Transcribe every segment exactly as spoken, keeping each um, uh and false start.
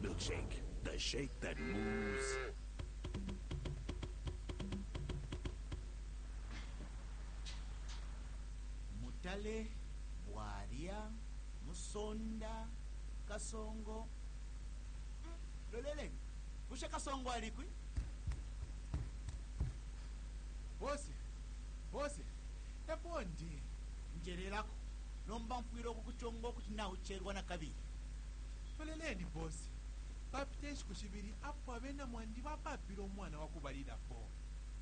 Milkshake, the shake that moves. Mutale, Bwalya, Musonda, Kasongo. Mm, Loleleni, bushe Kasongo alikwi? Bosi, bosi, epo ndi. Njererako, nomba mfwile okukuchonga okuti naucherwa na kabili. Loleleni bosi. Papita enshiku shibili apo abena mwandi bapapile umwana wa kubalilapo.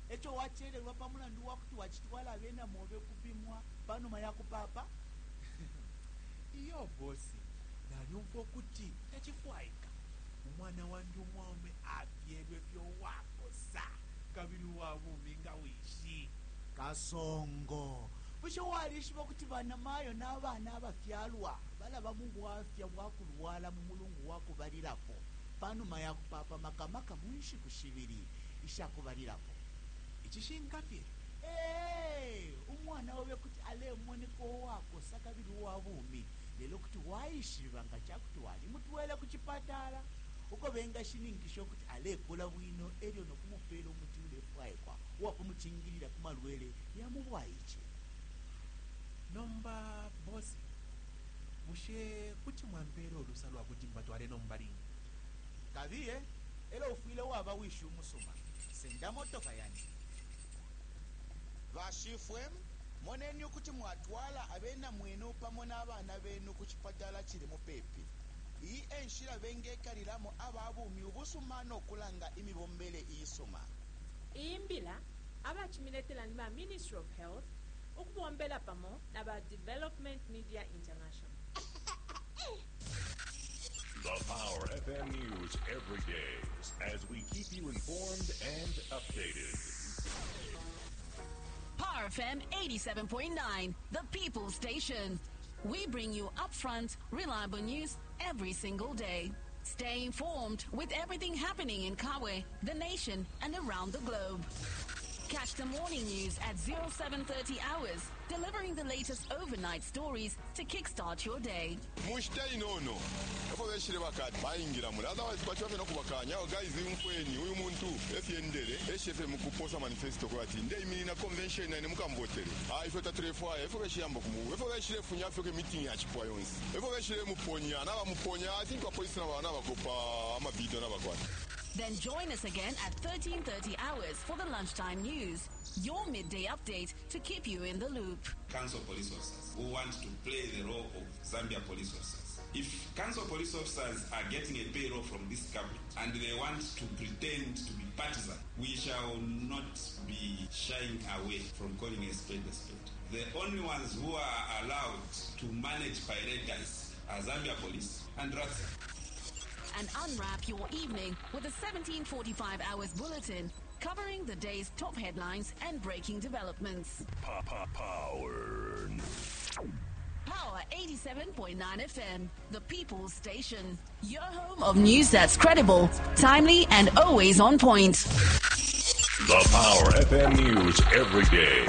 Echo wachererwa pa mulandu wakuti wachitwala abena mobe kupimwa panuma ya kupapa? Iyo bosi, nalyumfwa ukuti tacifwaika. Umwana wandi umwaume afyelwe fye uwakosa kabili uwa bumi nga wishi. Kasongo, bushe walishiba kuti banamayo n'abana abafyalwa balaba mu bwafya bwa kulwala mu mulungu wa kubalilapo panuma ya kupapa, makamaka mu nshiku shibili ishakubalilapo? Icishinka fye. Ee, umwana obe kuti alemoneka uwakosa kabili uwa bumi, lelo kuti waishiba nga cakuti walimutwele ku chipatala uko bengashininkisha ukuti alekula bwino elyo nokumupela umuti ulefwaikwa uwakumucingilila ku malwele ya mu bwaice. Nomba bosi, bushe kuti mwampela ulusa lwa kuti mbatwale nomba line? Kabiye, elo ufwile waba wishi umusuma. Senda motoka yani. Bashifwe, moneni ukuti mwatwala abena mwenu pamo n'abana benu ku chipatala chili mupepi. Iyi enshila bengekalilamo aba bumi ubusuma n'okulanga imibombele iisuma. Iyi mbila abachimiletela ni ba Ministry of Health ukubombela pamo na ba Development Media International. The Power F M News every day as we keep you informed and updated. Power F M eighty-seven point nine, the People Station. We bring you upfront, reliable news every single day. Stay informed with everything happening in Kabwe, the nation, and around the globe. Catch the morning news at oh seven thirty hours, delivering the latest overnight stories to kickstart your day. Mushita inono efo beshile bakati bayingira muli, otherwise bachiba fye nokubakanya. Awo guys, umfweni uyu muntu efyendele eshefe mukuposa manifesto kwati ndeiminina convention nine mukamvotele. Ah, ifwe tatulefwaya efo beshiyamba kumu efo beshile funya fyoke meeting yachipwa yonse efo beshile muponya nabamuponya. I think apolisi nabakopa amavideo nabakwata. Then join us again at thirteen thirty hours for the lunchtime news, your midday update to keep you in the loop. Council police officers who want to play the role of Zambia police officers. If council police officers are getting a payroll from this government and they want to pretend to be partisan, we shall not be shying away from calling a spade a spade. The only ones who are allowed to manage paradise are Zambia police and R A T S A. And unwrap your evening with a seventeen forty-five hours bulletin covering the day's top headlines and breaking developments. Power. Power eighty-seven point nine F M, the People's Station. Your home of news that's credible, timely, and always on point. The Power F M News every day.